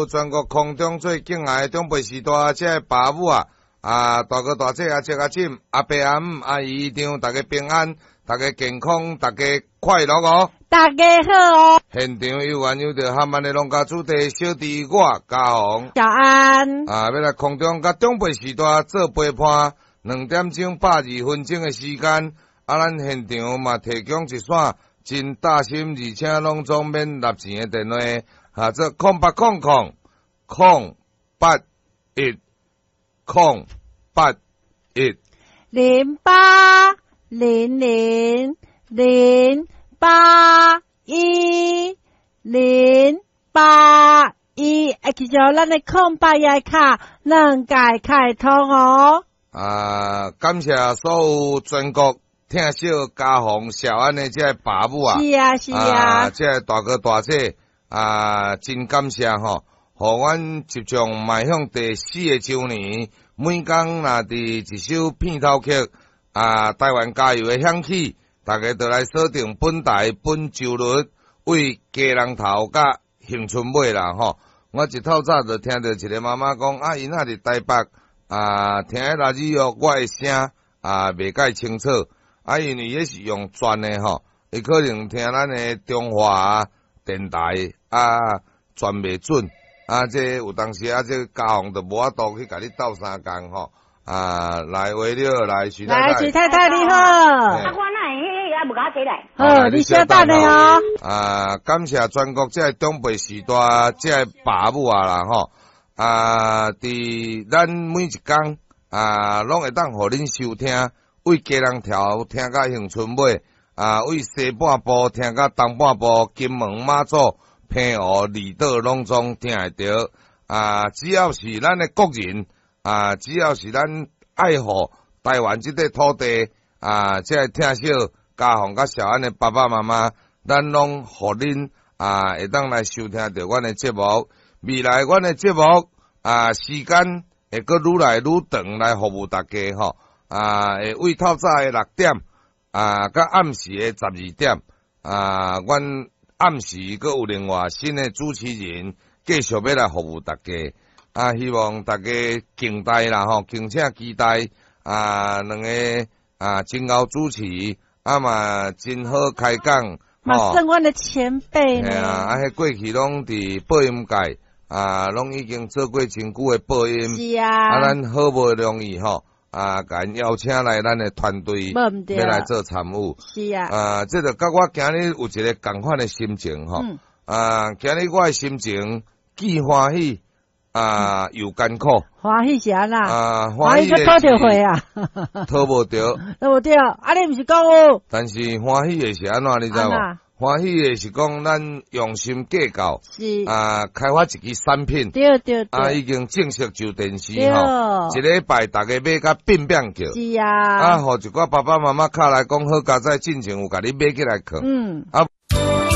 全國空中最敬愛的長輩時代，這个爸母啊，啊大哥大姐阿叔阿嬸阿伯阿姆阿姨姨丈，大家平安，大家健康，大家快樂哦！大家好哦！現場有緣有著哈曼的農家子弟小弟我嘉宏小安啊，欲來空中佮長輩時代做陪伴，2點鐘82分鐘的時間，啊，咱現場嘛提供一線真貼心，而且攏總免納錢的電話，哈，做0800 081 081 0800 081 081，會記著咱的空八一卡兩屆開通哦。啊，感謝所有全國疼惜嘉宏小安的這个爸母啊，是啊是啊，啊，這个大哥大姐啊，真感謝吼，予阮即將邁向第四個週年，每工若佇一首片頭曲啊，台灣加油的響起，大家就來鎖定本台本週日為基隆頭佮恆春尾啦吼。我一透早就聽著一个媽媽講，啊，𪜶仔佇台北啊，聽拉里奧我的聲啊，袂蓋清楚，啊，因為彼是用轉的吼，伊可能聽咱的中華電台啊，轉袂準，啊，這有當時啊，這嘉宏就無法度去共你鬥相共吼，啊，來為了來徐太太，來徐太太你好，啊，我哪會彼個猶無共我提來？好，你稍等下哦。啊，感謝全國這个長輩時代這个爸母啊啦吼，啊，佇咱每一工啊，攏會當予恁收聽，為基隆頭聽到恆春尾，啊，為西半部聽到東半部，金門馬祖、澎湖、離島攏總聽會著。啊，只要是咱的國人，啊，只要是咱愛護台灣這塊土地，啊，這个疼惜嘉宏佮小安的爸爸媽媽，咱攏予恁啊，會當來收聽著阮的節目。未來阮的節目啊，時間會閣愈來愈長來服務大家吼。啊，會為透早的6點啊，佮暗時的12點啊，阮暗時閣有另外新的主持人繼續欲來服務大家。啊，希望大家敬待啦吼，敬請期待啊，兩个啊真𠢕主持，啊嘛真好開講。嘛算阮的前輩呢。嘿啊，啊，彼過去攏佇播音界啊，攏已經做過真久的播音。是啊。啊，咱好不容易吼，啊，共𪜶邀請來咱的團隊，欲來做參與。是啊。啊，這就佮我今日有一个仝款的心情吼。啊，今日我的心情既歡喜啊，又艱苦。歡喜是按怎？啊，歡喜閣討著貨啊？討無著。討無著，啊，你毋是講有？但是歡喜的是按怎，你知無？歡喜的是講咱用心計較，啊，開發一支產品，啊，已經正式上電視吼，一禮拜逐家買甲變變叫，是啊，啊，予一寡爸爸媽媽敲來講好佳哉，進前有共你買起來囥，啊。